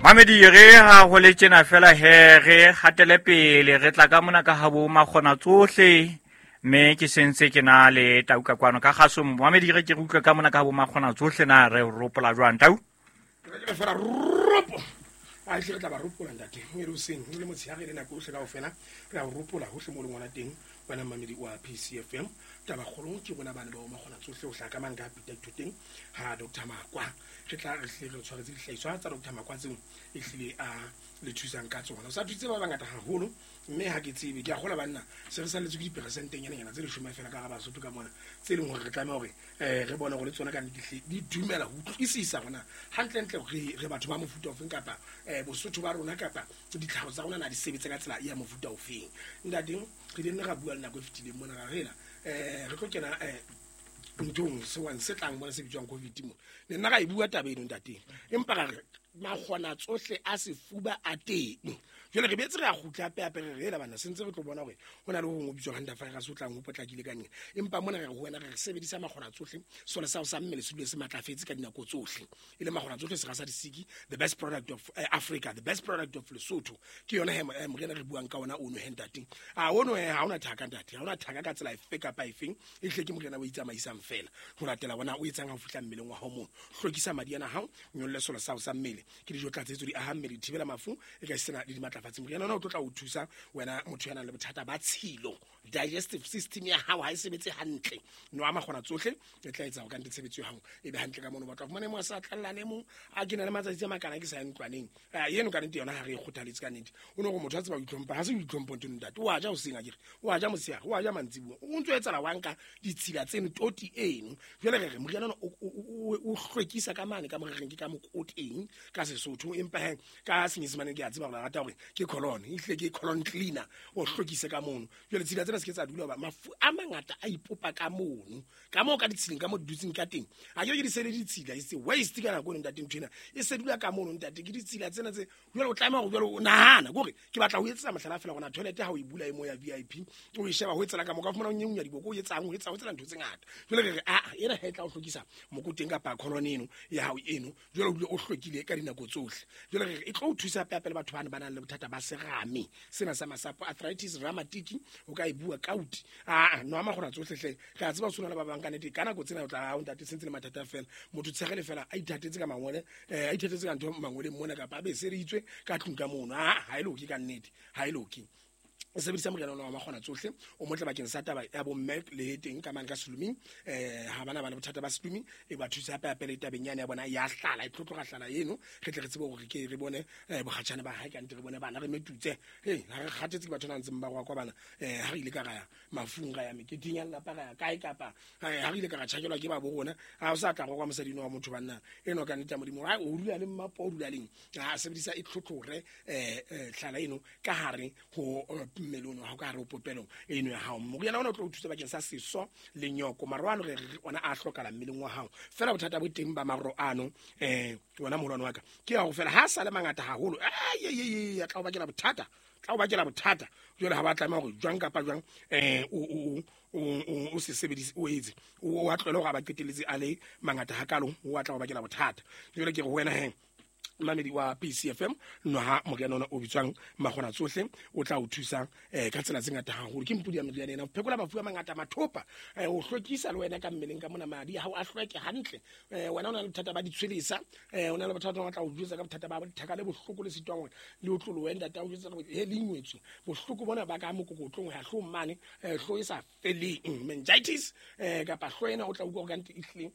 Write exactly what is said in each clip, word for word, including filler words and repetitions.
Mamedi re ha ho le tjena fela he re hatele pele re tla ka mona ka habo makgona tsohle mme ke sentse ke na le tau ka kwano ka kgasong. Mamedi re ke re utlwe ka mona ka habo makgona tsohle na re ropola jwang tau? Re fela ropo. A tle re tla ba ropola ntate. E re hoseng le motshehare le nako yohle kaofela re a ropola hohle mo leng hona teng wena mamedi wa P C F M. Taba kgolo ke rona bana ba makgona tsohle ho hlaka mang ka Peter Thoteng ha Doctor Makwa. Re tla re hle re tshwaretse dihlahiswa tsa Doctor Makwa tseo e hlile a le thusang ka tsona. O sa thutse ba bangata haholo mme ha ke tsebe ke a kgola banna se re salletse ke diperesenteng nyana nyana tse leshome fela ka ga Basotho ka mona tse leng hore re tlameha hore eh re bone hore le tsona ka nnete di dumela ho utlwisisa hona hantlentle re re batho ba mofuta ofeng kapa eh Bosotho ba rona kapa ditlhaho tsa rona na di sebetsa ka tsela ya mofuta ofeng. Ntate re ile ra bua le nako e fetileng mona ra rela eh re tlo kena eh nthong se wa se tlang mona se bitswang COVID mo ne nna ra e bua taba eno ntate empa ra re makgona tsohle a sefuba a teng. Jwale re betse re a kgutla hape hape re rela bana sentse re tlo bona hore ho na le ho hong ho bitswang hantavirus o tlang ho potlakile ka neng empa mona re re ho wena re re sebedisa makgona tsohle sona sa ho sa mmele se dule se matlafetse ka dinako tsohle e le makgona tsohle sera sa disiki the best product of uh, Africa, the best product of Lesotho ke yona he morena re buang ka ona ono he ntate. A ono he ha ona thaka ntate, ha ona thaka ka tsela efe kapa efeng e hle ke morena o itsamaisang fela ho latela bona o etsang ha o fihla mmeleng wa hao mono hlwekisa madi ana hao nyolle sona sa ho sa mmele ke dijo tlatsetso di aha mmele di thibela mafu e ka sena le dimatlafatsi. Moriana ona o tlo tla o thusa wena motho ya nang le bothata ba tshilo digestive system ya hao ha e sebetse hantle nwa makgona tsohle e tla etsa hore ka nnete tshebetso ya hao e be hantle ka mono. Batho ba fumane mo sa tlallane mo a ke na le matsatsi a makana ke sa ya ntlwaneng eno ka nnete yona ha re e kgothaletse ka nnete o ne gore motho a tseba ho itlhompha ha se ho itlhompho ntho ntate o a ja hoseng akere o a ja motshehare o a ja mantsibuya o ntso etsala wa nka ditshila tseno toti eno. Jwale re re moriana ona o hlwekisa ka mane ka mo re reng ke ka mokoteng ka Sesotho empa he ka Senyesemane ke a tseba gore rata hore ke colon e hle ke colon cleaner o hlwekise ka mono. Jwale tshila tsena se ke tsa dula ba mafu a mangata a ipopa ka mono ka moo ka ditshileng ka mo di dutseng ka teng a ke ke di sele ditshila e se waste ka nako eno ntate ntho ena e se dula ka mono ntate ke ditshila tsena tse jwale o tlameha hore jwale o nahana kore ke batla ho etsetsa mohlala fela gona toilet ha o e bula e mo ya V I P o e sheba ho etsela ka mo ka fumana o nyenywa diboko o etsang o etsa ho tsela ntho tse ngata. Jwale re re a ena ha e tla o hlwekisa mokoteng kapa colon eno ya hao eno jwale o dule o hlwekile ka dinako tsohle. Jwale re re e tlo o thusa hape hape le batho bana ba nang le bothata ba serame sena sa masapo arthritis rheumatic o ka e bua kauti a no ama gona tsohle hle re a tseba o tshwana le ba bang ka nnete ka nako tsena o tla o ntate sentse le mathata fela motho tshegele fela a ithatetse ka mangwele eh a ithatetse ka ntho mangweleng mona kapa a be sereditswe ka tlung ka mono a ha e loke ka nnete ha e loke. O sebedisa moriana ona wa makgona tsohle o motle bakeng sa taba ya bomme le teng ka mane ka seluming eh ha bana ba le bothata ba seluming e ba thusa hape hape le tabeng yane ya bona ya hlala e tlotloga hlala eno re tle re tsebe hore ke re bone bokgatjhane ba hae ka nnete re bone bana re metutse he ha re kgathetse ke batho ba ntseng ba roa kwa bana eh ha re ile ka ra ya mafung ra ya meketeng ya lelapa ra ya kae kapa ha re ile ka ra tjhakelwa ke ba bo rona ha o sa tla go kwa mosadi wa motho banna eno ka nnete ya Modimo ha o dula le mmapo o dula leng ha sebedisa e tlhotlhore eh hlala eno ka hare ho mmele ono ha o ka re o popelong eno ya hao. Moriana ona o tlo o thusa bakeng sa seso le nyoko maro ano re re ona a hlokala mmeleng wa hao fela bothata bo teng ba maro ano eh wena moholwane wa ka ke ya go fela ha sa le mangata haholo ai ai ai tla o bakela bothata tla o bakela bothata jwale ha ba tlameha hore jwang kapa jwang eh o o o se sebedise o etse o a tlohele hore a ba qeteletse a le mangata hakalo o a tla o bakela bothata. Jwale ke re ho wena he mamedi wa P C F M no ha moriana ona o bitswang makgona tsohle o tla o thusa eh ka tsela tse ngata haholo ke mpudi ya meriana ena ho phekola mafu a mangata mathopa eh o hlwekisa le wena ka mmeleng ka mona madi ha o a hlweke hantle eh wena o na le bothata ba ditshwelesa eh o na le bothata ba tla o jwetsa ka bothata ba dithaka le bohloko le sitwang hore le otlolowe ntate o jwetsa hore he le ingwetswe bohloko bona ba ka mokokotlong ha hlo mane eh hlo e sa feleng meningitis eh kapa hlo ena o tla utlwa ka nnete ehleng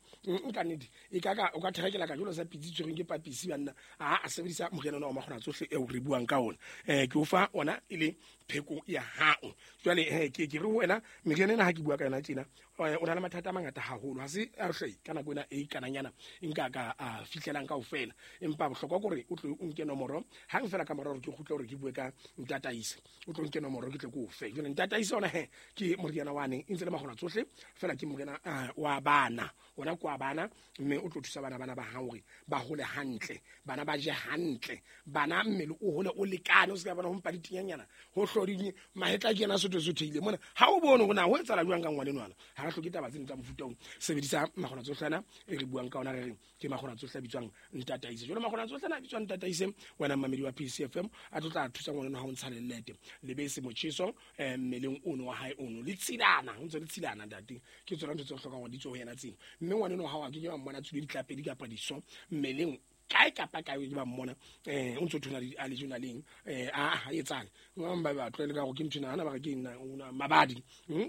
nka nnete e ka ka o ka therekela ka jolo sa pitsi tshwereng ke papisi banna a a sebedisa moriana ona wa makgona tsohle eo re buang ka ona eh ke o fa ona e le pheko ya hao. Jwale eh ke ke re ho wena meriana ena ha ke bua ka yona tjena o na le mathata a mangata haholo ha se a hle ka nako ena e kananyana nka ka a fihlelang kaofela empa bohlokwa ke hore o tlo o nke nomoro hang fela ka mora hore ke kgutle hore ke bue ka ntataise o tlo nke nomoro ke tle ke o fe. Jwale ntataise ona he ke moriana wa neng e ntse le makgona tsohle fela ke moriana wa bana ona kwa bana mme o tlo thusa bana bana ba hao hore ba hole hantle bana bana ba je hantle bana mmele o hole o lekane o se ka bona ho mpa ditinyanyana ho hloding mahetla ke yena sotho sotheile mona ha o bone hore na ho etsahala jwang ka ngwane nwana ha re hloke taba tsena tsa mofuta o sebedisa makgona tsohlana e re buang ka ona re reng ke makgona tsohle a bitswang ntataise jwale makgona tsohlana a bitswang ntataise wena mmamedi wa P C F M a tlo tla thusa ngwane ha o ntsha lelete lebese motjheso mmeleng ono wa hae ono le tshilana o ntse le tshilana ntate ke tsona ntho tse hlokang hore di tswe ho yena tsena mme ngwane no ha wa ke ke ba mmona tswile ditlapedi kapa diso mmeleng kae kapa kae ke ba mmona eh o ntso thona a le journaleng eh a etsang ba ba tlwaele ka go ke ntho nana ba re ke nna mabadi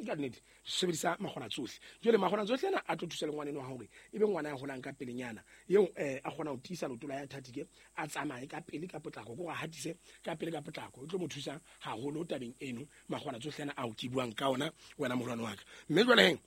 ka nnete sebedisa makgona tsohle jwale makgona tsohle ana a tlo thusa le ngwane no hore ebe ngwana ya holang ka pelenyana eo eh a kgona ho tiisa leoto la ya thatike a tsamaye ka pele ka potlako go hatise ka pele ka potlako o tlo mo thusa haholo tabeng eno makgona tsohle ana ao ke buang ka ona wena morwane wa ka mme jwale heng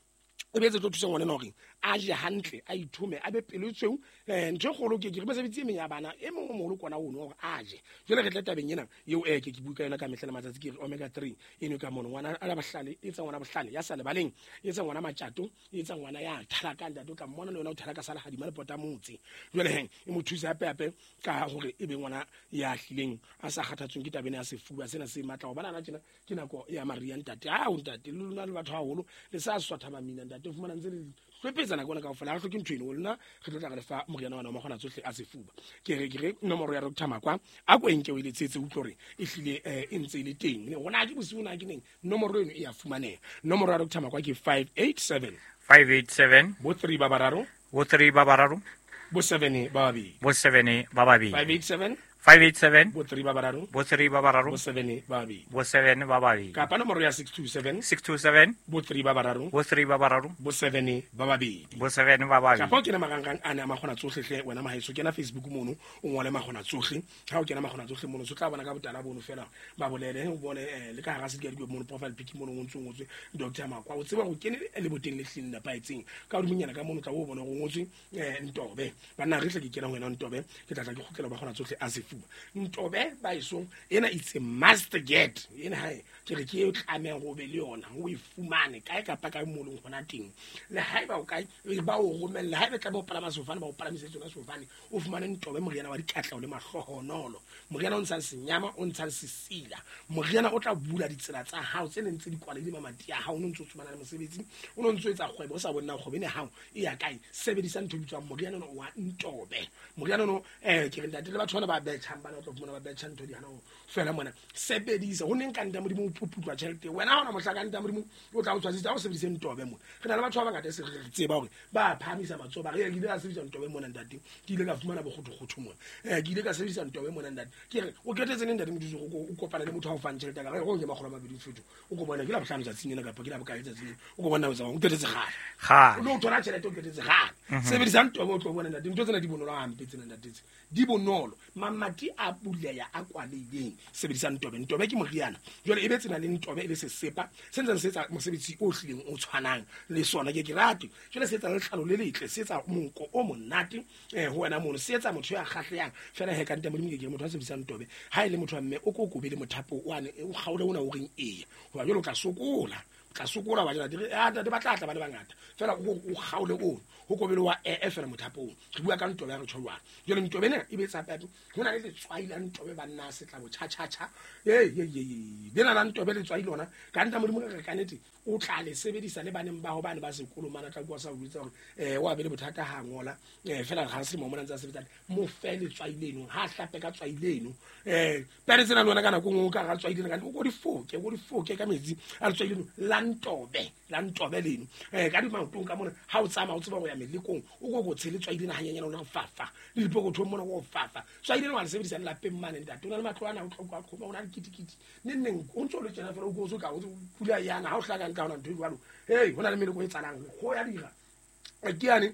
e be tse tlo thusa ngwana hore a je hantle a ithome a be pelo tshweu eh ntho e kgolo ke ke re mesebetsi e meng ya bana e mongwe o moholo kona ono hore a je jwale re tle tabeng ena eo eh ke ke bua ka yona ka mehla le matsatsi ke re omega three eno ka mono ngwana a la bohlale e etsa ngwana bohlale ya sa lebaleng e etsa ngwana matjato e etsa ngwana ya thalaka ntate o tla mmona le yona o thalaka sala hadima le pota motse jwale heng e mo thusa hape hape ka hore e be ngwana ya hlileng a sa kgathatsweng ke tabeng ya sefuba sena se matla ho bana tjena ke nako ya maria ntate a o ntate le lona le batho haholo le sa swatha mamina ntate o fumana ntse le hlwepetsana kona kaofela ha re hloke ntho eno lona re tlo tla re le fa moriana wa makgona tsohle a sefuba ke re ke re nomoro ya Doctor Makwa a ko enke o e letsetse utlwe hore e hlile e ntse e le teng hona ke bosiu na ke neng nomoro eno e ya fumaneha nomoro ya Doctor Makwa ke five eight seven five eight seven bo three ba bararo bo three ba bararo bo seven ba babedi bo seven ba babedi five eight seven five eight seven bo three ba bararo bo three ba bararo bo seven ba babedi bo seven ba babedi kapa nomoro ya six two seven six two seven bo three ba bararo bo three ba bararo bo seven ba babedi bo seven ba babedi kapa o kena marangrang ana a makgona tsohle hle wena mahaeso kena Facebook mono o ngole makgona tsohle ha o kena makgona tsohle mono so tla bona ka botala bono fela ba bolele o bone le ka hara sedikadikwe mono profile pic mono o ntse o ngotswe Doctor Makwa o tseba go kene le boteng le hleng nepahetseng ka hodimonyana ka mono tla o bona go ngotswe Ntobe banna re hle ke kena ho wena Ntobe ke tla tla ke kgutlela ba kgona tsohle a sefuba Ntobe ba isong ena it's a must get ena hae ke re ke e tlamehang go be le yona o e fumane kae kapa kae mo leng hona teng le haeba o kae ba o romella haeba tla bo palama sefofane ba o palamise tsona sefofane o fumane Ntobe moriana wa dikatleho le mahlohonolo moriana o ntshang senyama o ntshang sesila moriana o tla bula ditsela tsa hao tse neng tse di kwalehile mamati a hao o ntse o tsomana le mosebetsi o no ntse o etsa kgwebo o sa bone na kgwebo ene hao e ya kae sebedisa ntho e bitswang moriana ono wa Ntobe moriana ono eh ke re ntate le batho bana ba betjhang bana o tla fumana ba betjha ntho di hana ho fela mona sebedisa ho neng ka nta modimo o phuputlwa tjhelete wena ha ona mohla ka nta modimo o tla o tshwasitse ha o sebedise Ntobe mona re na le batho ba bangata se re tseba hore ba phahamisa matsoho ba re ke ile ka sebedisa Ntobe mona ntate ke ile ka fumana bokgothokgotho mona eh ke ile ka sebedisa Ntobe mona ntate ke re o ketetse neng ntate modimo o kopana le motho ha o fang tjhelete ka re go ke makgolo a mabedi fetho o ko bona ke la bohlano tsatsing lena kapa ke la bokae tsatsing lena o ko bona o tsamaya o ketetse kgale kgale o lo thola tjhelete o ketetse kgale sebedisa Ntobe o tlo bona ntate ntho tsena di bonolo hampe tsena ntate tse di bonolo mamati a buleya a kwalehileng sebedisa Ntobe Ntobe ke moriana jwale e be tsena le Ntobe e le sesepa se ntseng se etsa mosebetsi o hlileng o tshwanang le sona ke ke rate jwale se etsa letlalo le letle se etsa monko o monate eh ho wena mono se etsa motho ya kgahlehang fela he ka ntate modimo ke ke motho a sebedisang Ntobe ha e le motho wa mme o ko kobe le mothapo wane o kgaole ona o reng eya hoba jwale o tla sokola tla sokola ba jela dire a ntate ba tla tla ba le bangata fela o kgaole ono ho kobele wa e fela mothapong re bua ka Ntobe ya re tjho jwang jwale Ntobe ena e be tsa pepe ho na le letswai la Ntobe banna se tla bo cha cha cha e e e lena la Ntobe letswai lona ka nta modimo re ka nete o tla le sebedisa le baneng ba ho bane ba sekolo mana tla bua sa botsa hore eh wa be le bothata ha ngola eh fela ga se mo mona ntse a sebetsa mo fe letswai leno ha hlape ka tswai leno eh pere tsena lona ka nako nngwe ka ga tswai leno ka o go di foke go di foke ka metsi a letswai leno la Ntobe la Ntobe leno eh ka di maotong ka mona ha o tsamaya o tseba go ya melekong o go go tshele tswai lena hanyenyana o le fafa le dipokotho mona go fafa tswai leno wa le sebedisa le lapeng mane ntate o na le matlo ana o tlhoka qhoma o na le kitikiti neng neng o ntse o le tjena fela o go so ka o pula yana ha o hlaka nka hona ntho e jwalo hey hona le meleko e tsalang go ya dira ke yane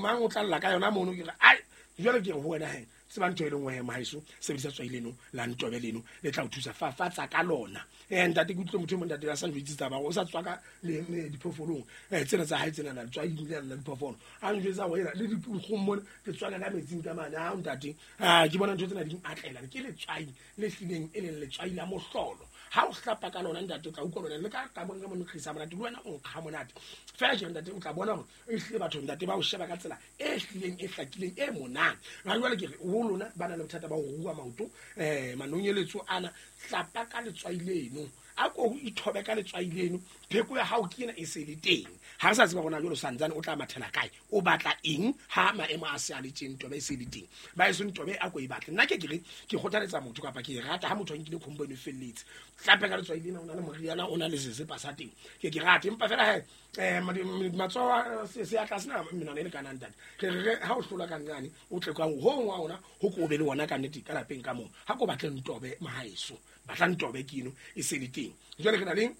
mang o tla lla ka yona mono ke re ai jwale ke re ho wena he tseba ntho e lengwe mahaeso sebedisa tswai leno la Ntobe leno le tla o thusa fafatsa ka lona eh ntate ke utlwe motho e mong ntate a sa njwetse taba o sa tswa ka le diphoofolong eh tsena tsa hae tsena la tswai le la diphoofolo a njwetsa ho ena le dikgong mona ke tswaka ka metsing ka mane ha ntate ah ke bona ntho tsena di atlela ke letswai le hlileng e leng letswai la mohlolo Ha o hlapa ka lona ntate o tla utlwa lona le ka ka bona mo nkgisa monate le wena o nkga monate fela ke ntate o tla bona hore e hlile batho ntate ba o sheba ka tsela e hlileng e hlakileng e monate. Ha jwale ke re ho lona ba na le bothata ba ho rua maoto eh manonyeletso ana hlapa ka letswai leno a ko ithobe ka letswai leno pheko ya hao ke ena e se le teng. Ha re sa tseba rona jwalo santsane o tla mathela kae o batla eng ha maemo a se a le teng tobe e se le teng ba e seng tobe a ko e batle. Nna ke ke re ke kgothaletsa motho kapa ke rata ha motho a nkile combo eno felletse hlape ka letswai lena o na le moriana o na le sesepa sa teng ke ke rate empa fela he eh matsoho se a tlase na menwana e lekanang ntate re re ha o hlola ka nqane o tle kwang ho ngwa ona ho ko be le wona ka nnete ka lapeng ka moo ha ko batle ntobe mahaeso batla ntobe ke eno e se le teng. Jwale re na le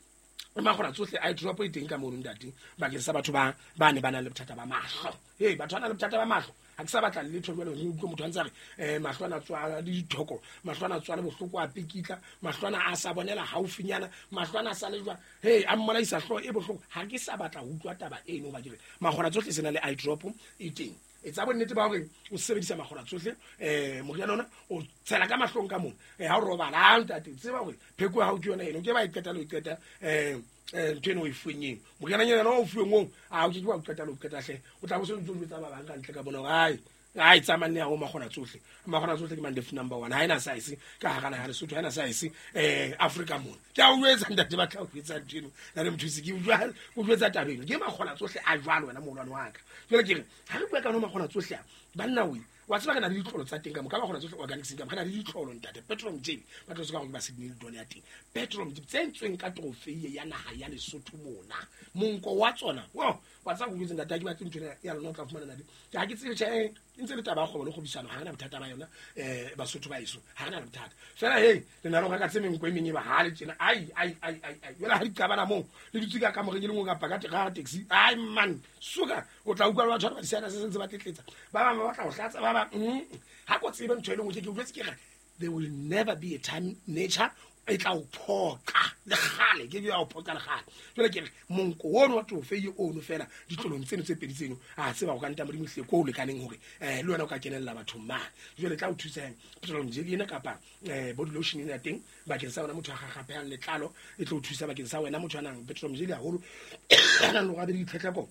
makgona tsohle a drop e teng ka mono ntate bakeng sa batho ba ba ne ba nang le bothata ba mahlo. Hey batho ba nang le bothata ba mahlo ha ke sa batla letho jwale re utlwe motho a ntse a re eh mahlo ana tswa le dithoko mahlo ana tswa le bohloko a pikitla mahlo ana a sa bonela haufinyana mahlo ana a sa le jwa hey a mmolaisa hloho e bohloko. Ha ke sa batla ho utlwa taba eno ba ke re makgona tsohle se na le eye drop e teng. E tsa bonnete ba hore o sebedisa makgona tsohle eh moriana ona o tshela ka mahlong ka mona eh ha o robala ntate tseba hore pheko ya hao ke yona eno ke ba e qeta le qeta eh eh ntho eno o e fuweng moriana nyana o fuweng o a o ke ke wa qeta le qeta hle o tla bo se ntse o jwetsa ba bang ka ntle ka bona hore ai ai tsamanne ya ho makgona tsohle makgona tsohle ke mandef number one ha ena size ka hara naha Lesotho ha ena size eh Africa mona ke a o jwetsa ntate ba tla o jwetsa ntho eno na le mothusi ke o jwetsa taba eno ke makgona tsohle a jwalo wena moholwane wa ka. Jwale ke re ha re bua ka no makgona tsohle a banna we wa tseba re na le ditlolo tsa teng ka mo ka makgona tsohle organic ka mo re na le ditlolo ntate petrol jelly ba tlo se ka gore ba Sydney le ya teng petrol jelly tse ntsweng ka trophy ya naha ya Lesotho mona monko wa tsona wo wa tsa go jwetsa ntate ke batle ntho ya lona o tla fumana ntate ke ha ke tsebe tjhe ntse le taba ya kgwebo le kgwebisano ha re na bothata ba yona eh Basotho ba eso ha re na bothata fela hey le na le go reka tse menko e meng e bahale tjena ai ai ai ai ai jwale ha di qabana moo le dutse ka kamoreng e le nngwe kapa ka ka taxi ai man suka o tla utlwa batho ba disana se sentse ba tletletsa ba bang ba batla ho hlatsa ba bang ha ko tsebe ntho e lengwe ke ke utlwetse ke re there will never be a time nature e tla o phoqa le kgale ke ya o phoqa le kgale. Jwale ke re monko ono wa tofei ono fela ditlolong tseno tse pedi tseno a tseba go ka nta modimo hle ko o lekaneng hore eh le wena o ka kenella bathong mane. Jwale tla o thusa petrol jelly ena kapa eh body lotion ena teng bakeng sa wena motho a gagapehang letlalo e tlo o thusa bakeng sa wena motho a nang petrol jelly haholo a nang le go be le ditlhetlheko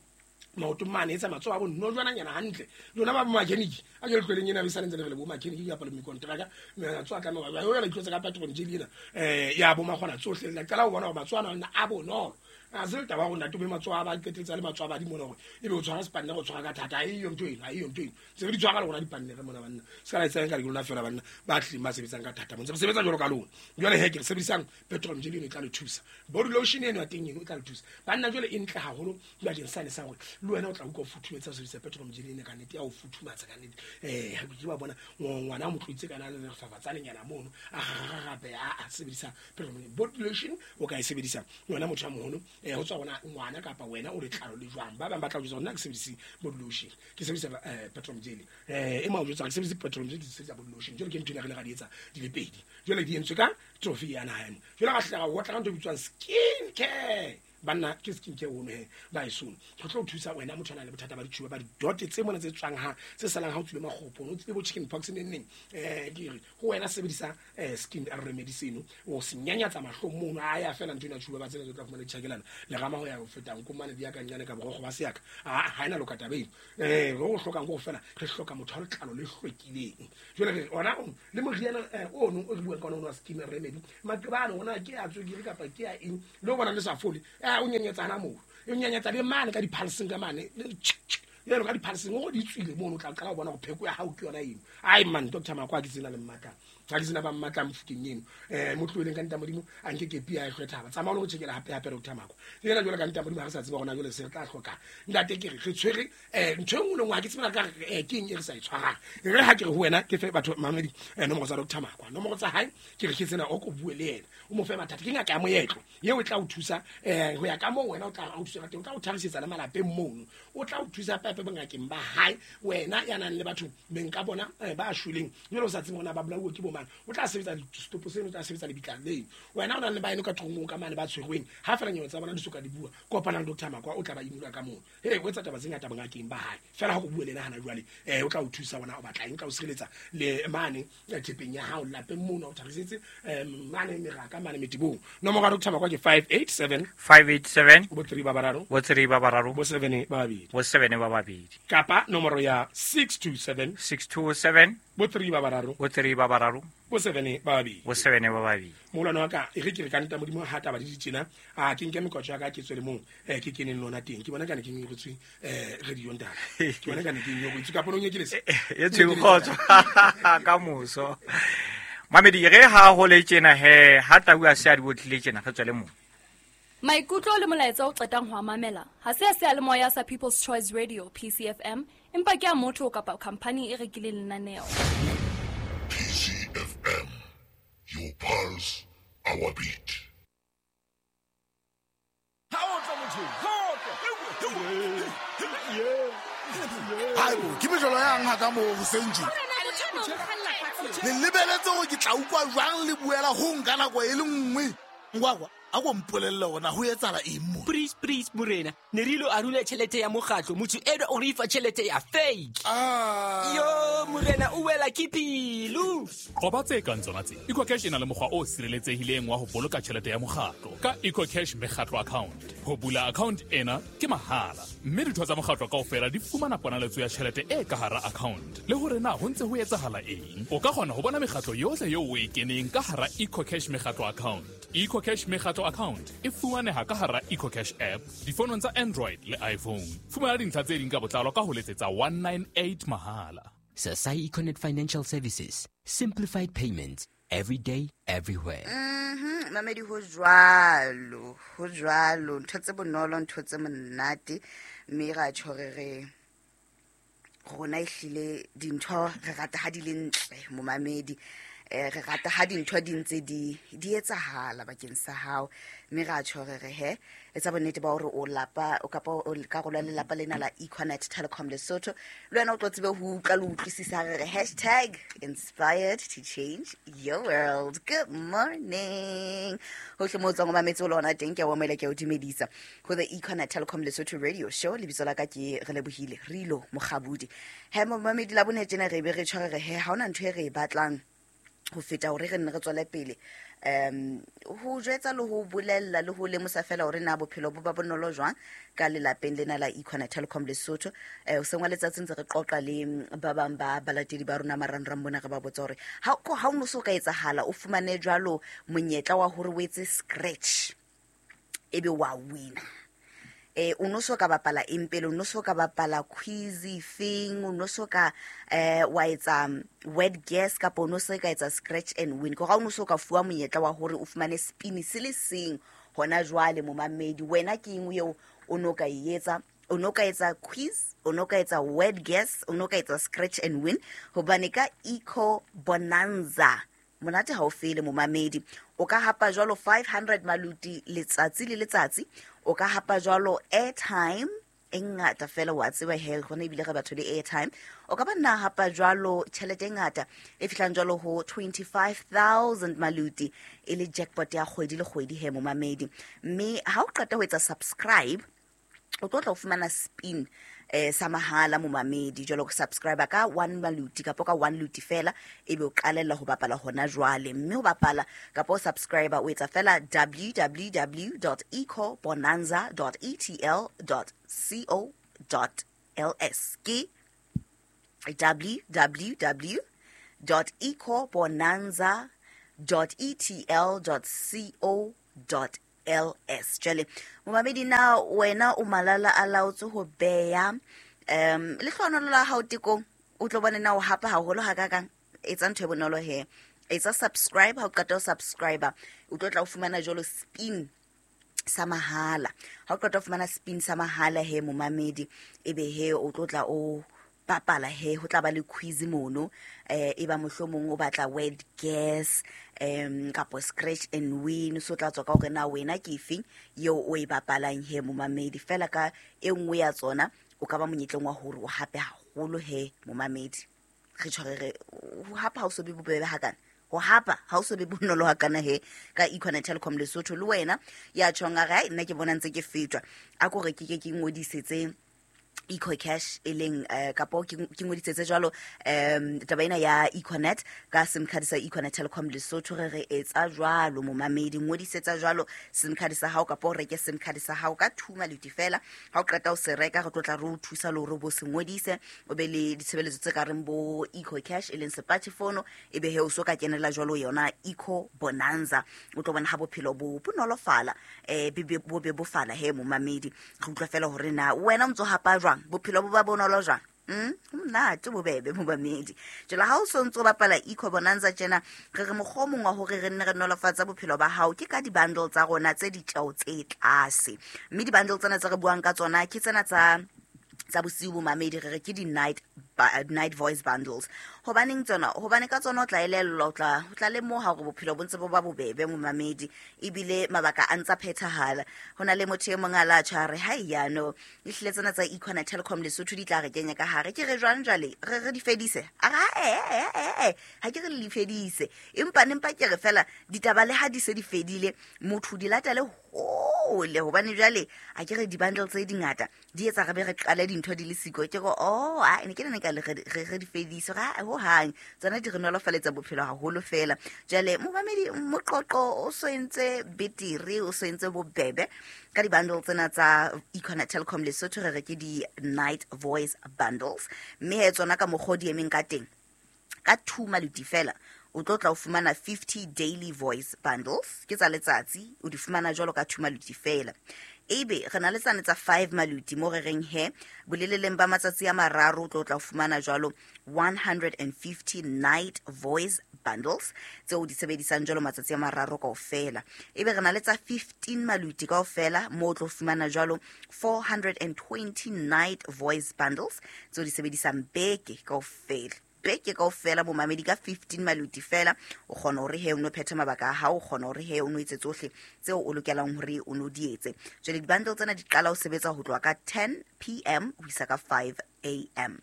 maoto mane etsa matsoho a bonno jwananyana hantle lona ba bo-mechanic a ke le tlweleng ena e sa ntse le re le bo-mechanic kapa le mekontraka matsoho a tlameha ho yona itlotse ka petrol jelly ena eh ya bo makgona tsohle la qala ho bona hore matsoho ana a bonolo a se taba hore ntate be matsoho a ba qeteletse le matsoho a badimo mona hore ebe o tshwara sepanne go tshwara ka thata a eyo ntho eno a eyo ntho eno se re di tshwara le rona dipanne re mona banna se ka la etsang ka le lona fela banna ba tlileng ba sebetsang ka thata mo ntse re sebetsa jwalo ka lona. Jwale he ke re sebedisang petrol jelly eno e tla le thusa body lotion eno ya teng eno e tla le thusa banna. Jwale e ntle haholo bakeng sane sa hore le wena o tla utlwa o futhumetsa ho sebedisa petrol jelly ena ka nnete ya o futhumatsa ka nnete eh ha ke ba bona ngwana a mo tloitse kana le lefafatsanenyana mono a gagagape a sebedisa petrol body lotion o ka e sebedisa wena motho a moholo eh ho tswa bona ngwana kapa wena o letlalo le jwang ba bang ba tla o jwetsa nna ke sebedise body lotion ke sebedisa petrol jelly eh e ma o jwetsa ke sebedise petrol jelly ke sebedisa body lotion jwale ke ntho ena re le ra di etsa di le pedi jwale di entswe ka trophy ya naha ena jwale ka hlaga o tla ka ntho e bitswang skin care banna ke skin care ono he ba e sone go tlo thusa wena motho a nang le bothata ba ditšhuba ba didote tse mona tse tswang ha tse salang ha o tswile makgopo o tswile bo chicken pox neng neng eh ke re ho wena sebedisa skin remedy seno o se nyanyatsa mahlong mono a ya fela ntho ena tšhuba ba tsena tse tla fumana ditjhakelana le rama ho ya ho fetang ko mane di ya ka nyane ka borokgo ba seaka a ha ena loka taba eno eh re o hlokang go fela re hloka motho a letlalo le hlwekileng jwale re ona le moriana ono o re buang ka ona wa skin remedy maqebane ona ke a tswekere kapa ke a eng le bona le sa fole a o nyenyetsana moo o nyenyetsa le mane ka diphalseng ka mane yeno ka diphalseng o di tswile mono o tla qala ho bona hore pheko ya hao ke yona eno. Ai man Doctor Makwa ke tsena le mmatlang ha ke tsena ba mmatlang mofuteng eno eh mo tlohelleng ka nta modimo a nke kepi ya hlwe thaba tsamaya o lo tjekela hape hape Doctor Makwa yena jwale ka nta modimo ha re sa tseba hona jwale se re tla hloka ntate ke re re tshwere eh ntho e nngwe le nngwe ha ke tsebe ka re ke eng e re sa e tshwarang re ha ke re ho wena ke fe batho mamedi nomoro tsa Doctor Makwa nomoro tsa hae ke re ke tsena o ko bue le yena o mo fe mathata ke ngaka ya moetlo eo e tla o thusa eh ho ya ka moo wena o tla o thusa ka teng o tla o tharisetsa le malapeng mono o tla o thusa pepe hape bongakeng ba hae. Wena ya nang le batho beng ka bona ba shweleng jwale o sa tsebe hore ba bolauwe ke bomang, o tla sebetsa setopo seno, o tla sebetsa lebitla leo. Wena o nang le baeno ka thongong ka mane ba tshwerweng, ha fela nyewe tsa bona di soka di bua, kopana le Doctor Makwa o tla ba imula ka moo. Hey, o etsa taba tse ngata bongakeng ba hae. Fela ha go bue le yena hana jwale, eh o tla o thusa bona o batla eng, o tla o sireletsa le mane thepeng ya hao lapeng mona o tharisetse mane meraka mane metibong. Nomoro ya Doctor Makwa ke five eight seven five eight seven bo three ba bararo bo three ba bararo bo seven ba babedi bo seven ba babedi, kapa nomoro ya six two seven six two seven bo three ba bararo bo three ba bararo bo seven ba babedi bo seven ba babedi. Molwana wa ka e re ke re ka nta modimo ha taba di ditjena, a ke nke mekotjo ya ka ke tswele mong eh ke keneng lona teng, ke bona kana ke nyoretswe eh radio ntate, ke bona kana ke nyoretswe ka ponong e ke lese e tshwe kgotso ka moso. Mamedi re ha ho le tjena he ha tau a se a di botlile tjena re tswele mong. Maikutlo le molaetsa o qetang ho a mamela ha se a seyalemoya sa People's Choice Radio P C F M, empa ke a motho kapa company e rekileng lenaneo. P C F M, your pulse, our beat. Haebo, ke mejolo yang ha ka mo hoseng tje. Le lebeletse hore ke tla utlwa jwang le buela ho nka nako e le nngwe. Ngwakwa, a go mpolelle hore ho etsahala eng mo? Please, please, morena. Ne re ilo arula tjhelete ya mokgatlo, motho enwa o re fa tjhelete ya fake. Ah. Yo, morena o wela ke pelo. Qoba tse kang tsona tse. EcoCash e na le mokgwa o sireletsehileng wa ho boloka tjhelete ya mokgatlo ka EcoCash mekgatlo account. Ho bula account ena ke mahala, mme ditho tsa mokgatlo kaofela di fumana ponaletso ya tjhelete e ka hara account. Le hore na ho ntse ho etsahala eng. O ka kgona ho bona mekgatlo yohle eo o e keneng ka hara EcoCash mekgatlo account. EcoCash mekgatlo account e fumaneha ka hara EcoCash app difonong tsa Android le iPhone. Fumana dintlha tse ding ka botlalo ka ho letsetsa one nine eight mahala. Sasai Econet Financial Services, simplified payments every day, everywhere. Mhm, mamedi ho jwalo, ho jwalo, ntho tse bonolo, ntho tse monate, mme ra tjho re re rona ehlile dintho re rata ha di le ntle momamedi. Eh re rata ha dintho di ntse di di etsahala bakeng sa hao, mme ra tjho re re he etsa bonnete ba hore o lapa o kapa o karolo ya lelapa lena la Econet Telecom Lesotho, le wena o tlo tsebe ho utlwa le utlwisisa re re hashtag inspired to change your world. Good morning hohle mo tswang o mametse o lona teng, ke a o amohela, ke a o dumedisa ho the Econet Telecom Lesotho radio show. Lebitso la ka ke Relebohile Rilo Mokgabudi. He momamedi la bone tjena re be re tjho re re he ha hona ntho e re e batlang ho feta hore re nne re tswele pele um ho jwetsa le ho bolella le ho lemosa fela hore na bophelo bo ba bonolo jwang ka lelapeng lena la Econet Telecom Lesotho. Eh o sengwa letsatsi ntse re qoqa le ba bang ba balatedi ba rona marangrang mona, re ba botsa hore ha ha o no so ka etsahala o fumane jwalo monyetla wa hore o etse scratch ebe wa wina. Eh o no so ka bapala eng pele, o no so ka bapala quiz feng, o no so ka eh wa etsa word guess kapa o no so ka etsa scratch and win. Ko ga o no so ka fuwa monyetla wa hore o fumane spin se le seng hona jwale momamedi. Wena ke eng eo o no ka e etsa? O no ka etsa quiz, o no ka etsa word guess, o no ka etsa scratch and win, hobane ka Eco Bonanza monate ha o fele momamedi. O ka hapa jwalo five hundred maluti letsatsi le letsatsi, o ka hapa jwalo airtime e ngata fela wa tseba he gona ebile re batho le airtime. O ka ba nna hapa jwalo tjhelete e ngata e fihlang jwalo ho twenty-five thousand maluti e le jackpot ya kgwedi le kgwedi he momamedi. Mme ha o qeta ho etsa subscribe o tlo tla o fumana spin eh sa mahala momamedi. Jwalo go subscribe ka one maluti kapa ka one luti fela ebe o qalella ho bapala hona jwale. Mme ho bapala kapa o subscribe o etsa fela w w w dot eco bonanza dot e t l dot co dot l s ke w w w dot eco bonanza dot e t l dot co dot l s. Jwale momamedi na wena o malala a laotse ho beya um lehlohonolo la hao tekong, o tlo bone na o hapa haholo ha kakang. Etsa ntho e bonolo he, etsa subscribe. Ha o qeta ho subscribe o tlo tla o fumana jwalo spin sa mahala. Ha o qeta ho fumana spin sa mahala he momamedi, ebe he o tlo tla o bapala he, ho tla ba le quiz mono eh e ba mohlomong o batla word guess um kapo scratch and win, so tla tswa ka hore na wena ke efeng eo o e bapalang he momamedi. Fela ka e nngwe ya tsona o ka ba monyetleng wa hore o hape haholo he momamedi. Re tshware re ho hapa ha o so be bobebe hakana, ho hapa ha o so be bonolo hakana he ka Econet Telecom Lesotho. Le wena ya tjhong a re ai nna ke bona ntse ke fetwa, a ko re ke ke ke ngodisetse EcoCash e leng eh, kapo ke ke ngodisetse jwalo um taba ena ya Econet ka SIM card sa Econet Telecom Lesotho. Re re etsa jwalo momamedi, ngodisetsa jwalo SIM card sa hao kapo o reke SIM card sa hao ka two maluti fela. Ha o qeta ho se reka, re tlo tla re o thusa le hore o bo se ngodise, o be le ditshebeletso tse ka reng bo EcoCash e leng smartphone, e be he o so ka kenela jwalo yona Eco Bonanza. O tlo bona ha bophelo bo bonolofala, eh be bo be bofala he momamedi. Re utlwa fela hore na wena o ntso hapa jwang, bophelo bo ba bonolo jwang. Mm, monate bobebe momamedi. Jwale ha o so ntso bapala Eco Bonanza tjena, re re mokgwa o mong wa hore re nne re nolofatsa bophelo ba hao ke ka di-bundle tsa rona tse ditjeo tse tlase. Mme di-bundle tsena tse re buang ka tsona ke tsena tsa tsa bosiu momamedi, re re ke di-night night voice bundles. Hobaneng tsona? Hobane ka tsona o tla elellwa, o tla o tla lemoha hore bophelo bo ntse bo ba bobebe momamedi, ebile mabaka a ntsa phethahala. Ho na le motho e mong a la tjha re hai yano ehlile tsena tsa Econet Telecom Lesotho di tla re kenya ka hare. Ke re jwang jwale re re di fedise? A re eh eh eh ha ke re le di fedise, empa nempa ke re fela ditaba le ha di se di fedile motho di latele hole, hobane jwale a ke re di-bundle tse dingata di etsa re be re qale dintho di le siko. Ke re oh a ne ke ne ka le re re di fedise ga ho hang, tsona di re nolofaletsa bophelo haholo fela. Jwale momamedi, moqoqo o so entse betere, o so entse bobebe ka di-bundle tsena tsa Econet Telecom Lesotho, re re ke di-night voice bundles. Mme he tsona ka mokgwa o di emeng ka teng, ka two maluti fela o tlo tla o fumana fifty daily voice bundles, ke tsa letsatsi, o di fumana jwalo ka two maluti fela. Ebe re na le tsane tsa five maluti mo re reng he boleleleng ba matsatsi a mararo o tlo tla o fumana jwalo one hundred and fifty night voice bundles tseo di sebedisang jwalo matsatsi a mararo kaofela. Ebe re na le tsa fifteen maluti kaofela mo o tlo fumana jwalo four hundred and twenty night voice bundles tseo di sebedisang beke kaofela. Beke kaofela momamedi ka fifteen maluti fela o kgona hore he o no phetha mabaka a hao, o kgona hore he o no etse tsohle tseo o lokelang hore o no di etse. Jwale di-bundle tsena di qala ho sebetsa ho tloha ka ten p m ho isa ka five a m.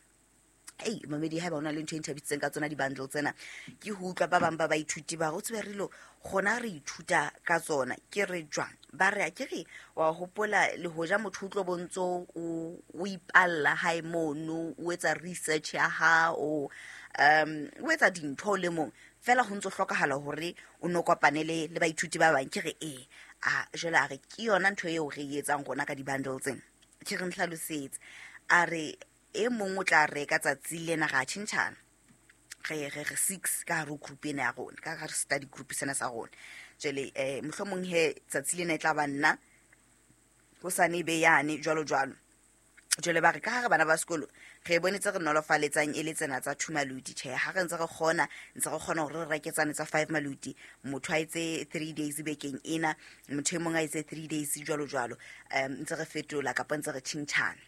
Ei momamedi, haeba o na le ntho e nthabisitseng ka tsona di-bundle tsena, ke ho utlwa ba bang ba baithuti ba re o tsebe re lo kgona re ithuta ka tsona. Ke re jwang? Ba re a ke re wa hopola le hoja motho o tlo bontso o o ipalla hae mono, o etsa research ya hao, um o etsa dintho le mong fela ho ntso hlokahala hore o no kopane le le baithuti ba bang. Ke re eh a jwale a re ke yona ntho eo re e etsang rona ka di-bundle tsena. Ke re nhlalosetse, a re e mong o tla reka tsatsi lena ra tjhentjhana, re re re six ka hare ho group ena ya rona, ka hare study group sena sa rona. Jwale eh mohlomong he tsatsi lena e tla ba nna, hosane e be yane, jwalo jwalo. Jwale ba re ka hare bana ba sekolo re bone tse re nolofaletsang e le tsena tsa two maluti. Tjhe, ha re ntse re kgona ntse re kgona hore re reke tsane tsa five maluti, motho a etse three days bekeng ena, motho e mong a etse three days jwalo jwalo, um ntse re fetola kapa ntse re tjhentjhana.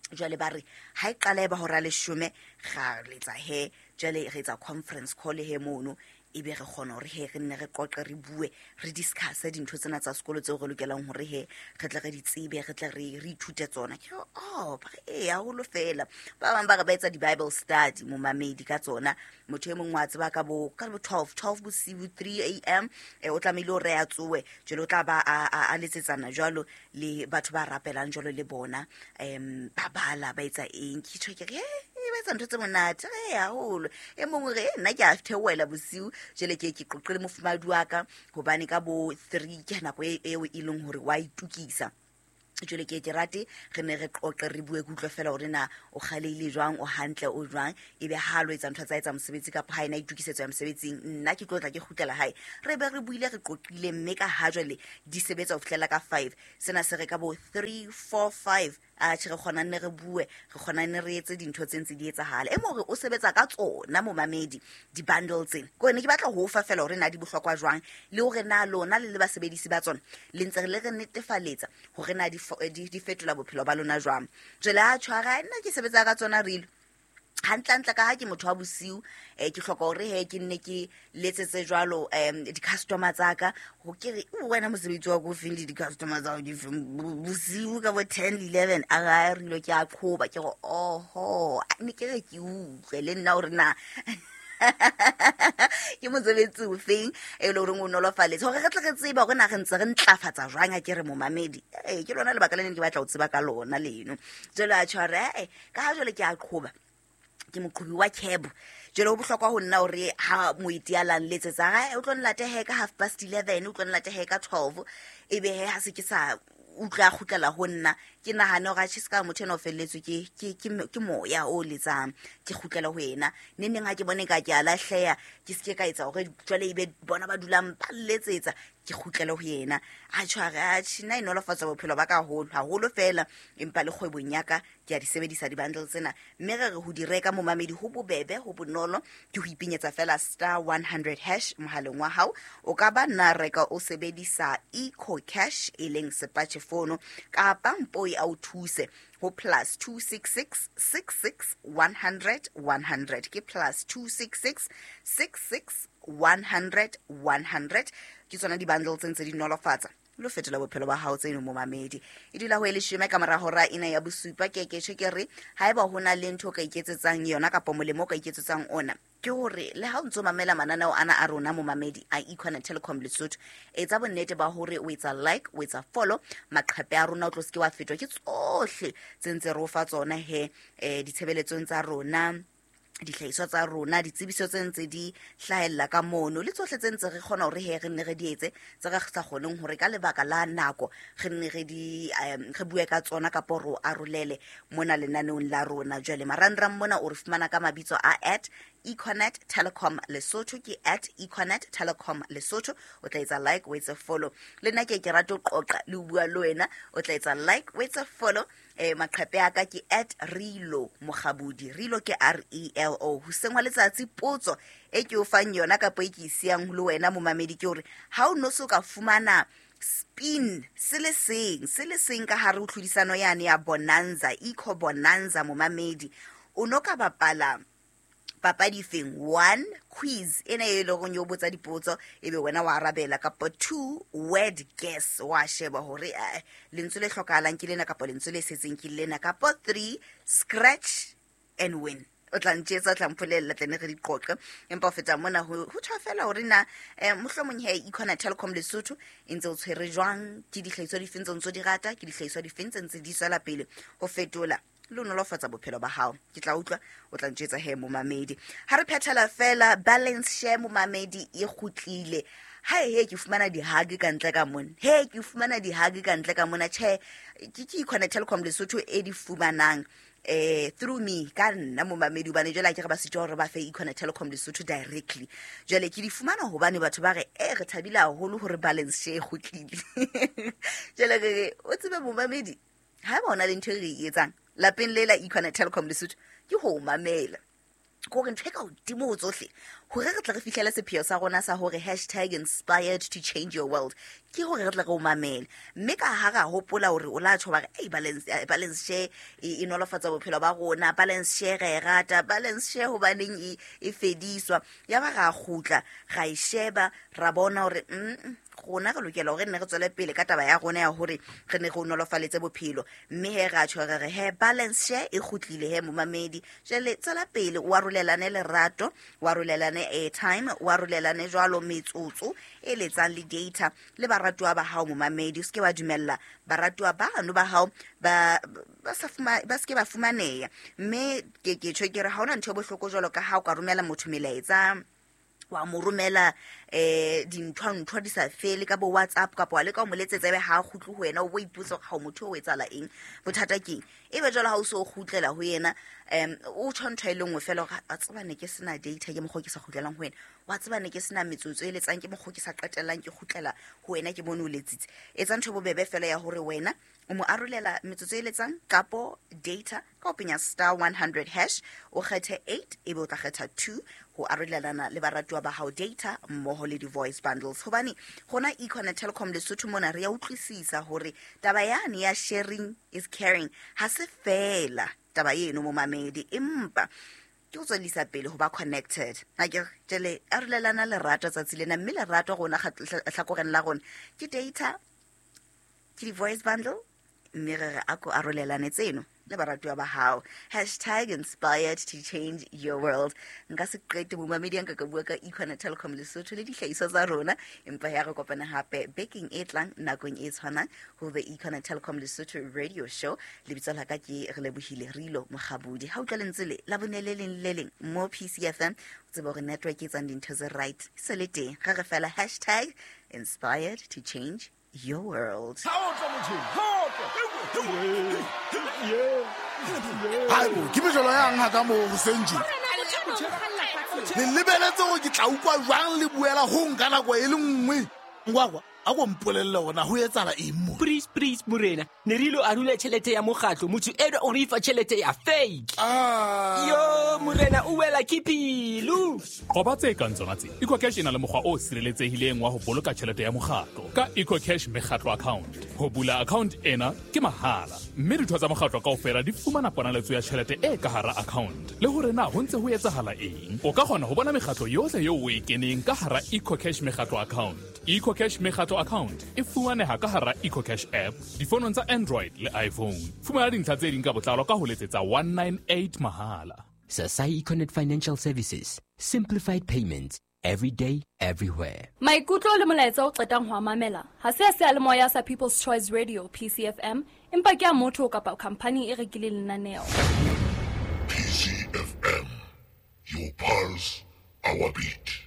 Jwale ba re ha e qala e ba hora leshome ra letsa he, jwale re etsa conference call he mono, ebe re kgona hore he re nne re qoqe, re bue, re discuss dintho tsena tsa sekolo tseo re lokelang hore he re tle re di tsebe, re tle re re ithute tsona. Ke re oh ba re eh haholo fela. Ba bang ba re ba etsa di-bible study momamedi ka tsona. Motho e mong wa tseba ka bo ka bo twelve, twelve bosiu, three a m, eh o tlamehile hore a tsowe, jwale o tla ba a a letsetsana jwalo le batho ba rapelang jwalo le bona, em ba bala ba etsa eng. Ke tjho ke re eh ba etsa ntho tse monate re haholo. E mongwe re nna ke a theohela bosiu, jwale ke ke qoqele mofumahadi wa ka hobane ka bo three ke nako eo e leng hore wa itukisa. Jwale ke ke rate re ne re qoqe re bue, ke utlwe fela hore na o kgaleile jwang, o hantle o jwang, ebe ha lo etsa ntho tsa etsa mosebetsi kapa ha ena itukisetso ya mosebetsing, nna ke tlo tla ke kgutlela hae, re be re buile re qoqile. Mme ka ha jwale di sebetsa ho fihlela ka five, sena se re ka bo three, four, five a tjhe re kgona nne re bue, re kgona nne re etse dintho tse ntse di etsahala. E mong o sebetsa ka tsona momamedi di-bundle tsena. Ke ne ke batla ho fa fela hore na di bohlokwa jwang, le hore na lona le le basebedisi ba tsona le ntse le re netefaletsa hore na di di fetola bophelo ba lona jwang. Jwale a tshwara nna ke sebetsa ka tsona rilo. Hantlentle ka ha ke motho wa bosiu, eh ke hloka hore he ke nne ke letsetse jwalo um di-customer tsa ka, ho ke re wena mosebetsi wa ko feng le di-customer tsa hao di feng bosiu ka bo ten eleven, a ga re ilo ke a qhoba, ke re oho, ne ke re ke utlwe le nna hore na ke mosebetsi o feng e le horeng o nolofaletse hore re tle re tsebe hore na re ntse re ntlafatsa jwang ha ke re momamedi. Ee, ke lona lebaka le neng ke batla ho tseba ka lona leno. Jwale a tjho hore ee, ka ha jwale ke a qhoba, ke moqhobi wa cab, jwale ho bohlokwa ho nna hore ha moeti a lang letsetsa ha o tlo nlate he ka half past eleven, o tlo nlate he ka twelve, ebe he ha se ke sa utlwa kgutlela ho nna, ke nahane hore atjhe se ka motho ena o felletswe ke ke ke ke moya o letsang, ke kgutlela ho yena. Neng neng ha ke bone ka ke a lahleha, ke se ke ka etsa hore jwale ebe bona ba dulang ba letsetsa, ke kgutlele ho yena. A tjho a re atjhe nna e nolofatsa bophelo ba ka haholo haholo fela, empa le kgwebong ya ka ke a di sebedisa di-bundle tsena, mme re re ho di reka momamedi ho bobebe, ho bonolo, ke ho ipenyetsa fela star one hundred hash mohaleng wa hao. O ka ba nna reka o sebedisa Eco Cash e leng sepatjhe fono, kapa mpoi a o thuse ho plus two six six six six one hundred one hundred, ke plus two six six six six one hundred one hundred. Ke tsona di-bundle tse ntse di nolofatsa lo fetola bophelo ba hao tseno momamedi. E dula ho e leshome ka mora hora ena ya bosupa. Ke ke tjho ke re haeba ho na le ntho o ka iketsetsang yona kapa molemo o ka iketsetsang ona, ke hore le ha o ntso mamela mananeo ana a rona momamedi a Econet Telecom Lesotho, etsa bonnete ba hore o etsa like, o etsa follow maqhepe a rona, o tlo se ke wa fetwa ke tsohle tse ntse re o fa tsona he, eh ditshebeletsong tsa rona, dihlahiswa tsa rona, ditsebiso tse ntse di hlahella ka mono, le tsohle tse ntse re kgona hore he re nne re di etse, tse re sa kgoneng hore ka lebaka la nako re nne re di um re bue ka tsona kapa re o arolele mona lenaneong la rona. Jwale marangrang mona o re fumana ka mabitso a at Econet Telecom Lesotho, ke at Econet Telecom Lesotho. O tla etsa like, o etse follow. Le nna ke ke rata ho qoqa le ho bua le wena, o tla etsa like, o etse follow. Eh maqhepe a ka ke at Relo Mokgabudi, Relo ke R E L O. Hoseng wa letsatsi potso e ke o fang yona kapa e ke e siyang le wena momamedi ke hore ha o no so ka fumana spin se le seng se le seng ka hare ho tlhodisano yane ya Bonanza, Eco Bonanza momamedi, o no ka bapala papadi feng? One, quiz ena e leng hore yo botsa dipotso ebe wena wa arabela, kapa two, word guess, wa sheba hore eh, lentswe le hlokahalang ke lena kapa lentswe le setseng ke lena, kapa three, scratch and win. O tla ntjetsa, o tla mpolella, tle ne re di qoqe. Empa ho feta mona ho ho tjho fela hore na eh, mohlomong he Econet Telecom Lesotho e ntse o tshwere jwang, ke dihlahiswa difeng tse ntse di rata, ke dihlahiswa difeng tse ntse di tswela pele ho fetola le ho nolofatsa bophelo ba hao. Ke tla utlwa o tla ntjetsa he momamedi. Ha re phethela fela balance share momamedi e kgutlile. Ha he ke fumana di-hug ka ntle ka mona, he ke fumana di-hug ka ntle ka mona, tjhe ke ke Econet Telecom Lesotho e di fumanang eh through me ka nna momamedi, hobane jwale ha ke re ba sitwa hore ba fe Econet Telecom Lesotho directly. Jwale ke di fumana hobane batho ba re eh re thabile haholo hore balance share e kgutlile. Jwale re re o tsebe momamedi, ha eba hona le ntho e re e etsang lapeng le la Econet Telecom Lesotho ke ho mamela, ke hore ntho e ka hodimo ho tsohle hore re tle re fihlele sepheo sa rona sa hore hashtag inspired to change your world, ke hore re tle re o mamele. Mme ka ha ra hopola hore o la tjho ba re ei balance, balance share e, e nolofatsa bophelo ba rona, balance share re e rata, balance share hobaneng e, e fediswa, ya ba ra kgutla ra e sheba ra bona hore mm, rona re lokela hore nne re tswele pele ka taba ya rona ya hore re ne re nolofaletse bophelo. Mme he ra tjho re re he balance share e kgutlile he momamedi. Jwale tswela pele o arolelane lerato, o arolelane airtime, o arolelane jwalo metsotso e letsang le data le baratuwa ba hao momamedi. O se ke wa dumella baratuwa bano ba hao ba ba sa fuma, ba se ke ba fumaneha. Mme ke ke tjho ke re ha hona ntho e bohloko jwalo ka ha o ka romela motho melaetsa, wa mo romela eh dintho-ntho di sa fele ka bo WhatsApp kapa wa leka ho mo letsetsa ebe ha a kgutle ho wena, o bo ipotsa hore ha o motho o etsahala eng, bothata keng. Ebe jwale ha o so kgutlela ho yena um o tjho ntho e le nngwe fela hore a tseba ne ke sena data ke mokgwa ke sa kgutlelang ho wena, wa tseba ne ke sena metsotso e letsang ke mokgwa ke sa qetellang ke kgutlela ho wena ke bone o letsitse. Etsa ntho e bobebe fela ya hore wena o mo arolela metsotso e letsang kapo data ka ho penya star one hundred hash, o kgethe eight ebe o tla kgetha two ho arolelana le baratuwa ba hao data mmoho le di-voice bundles. Hobane hona Econet Telecom Lesotho mona re ya utlwisisa hore taba yane ya sharing is caring ha se fela taba eno momamedi, empa Ke ho tswellisa pele ho ba connected. Ha ke jele arolelana lerato tsatsi lena, mme lerato rona hlakoreng la rona ke data, ke di-voice bundle, mme re re a ko arolelane tseno le baratuwa ba hao. Hashtag inspired to change your world. Nka se qete momamedi nka ka bua ka Econet Telecom Lesotho le dihlahiswa tsa rona, empa ya re kopana hape bekeng e tlang nakong e tshwanang ho the Econet Telecom Lesotho radio show. Lebitso la ka ke re lebohile Rilo Mokgabudi. Ha utlwa lentswe le la bone le leng le leng mo P C F M, o tsebe hore network e etsang dintho tse right se le teng. Re re fela hashtag inspired to change your world. Haibo, ke mejolo yang ha ka mo hoseng tje. Le lebeletse hore ke tla utlwa jwang le buela ho nka nako e le nngwe. Ngwakwa, a ko mpolelle hore na ho etsahala eng mo. Please, please, morena. Ne re ilo arula tjhelete ya mokgatlo, motho enwa o re fa tjhelete ya fake. Ah. Yo, morena o wela ke pelo. Qoba tse kang tsona tse. EcoCash e na le mokgwa o sireletsehileng wa ho boloka tjhelete ya mokgatlo ka EcoCash mekgatlo account. Ho bula account ena ke mahala, mme ditho tsa mokgatlo kaofela di fumana ponaletso ya tjhelete e ka hara account. Le hore na ho ntse ho etsahala eng, o ka kgona ho bona mekgatlo yohle eo o e keneng ka hara EcoCash mekgatlo account. EcoCash mekgatlo account e fumaneha ka hara EcoCash app difonong tsa Android le iPhone. Fumana dintlha tse ding ka botlalo ka ho letsetsa one nine eight mahala. Sasai Econet Financial Services. Simplified payments. Every day, everywhere. Maikutlo le molaetsa o qetang ho a mamela ha se a seyalemoya sa People's Choice Radio P C F M, empa ke a motho kapa khampani e rekileng lenaneo. P C F M, your pulse, our beat.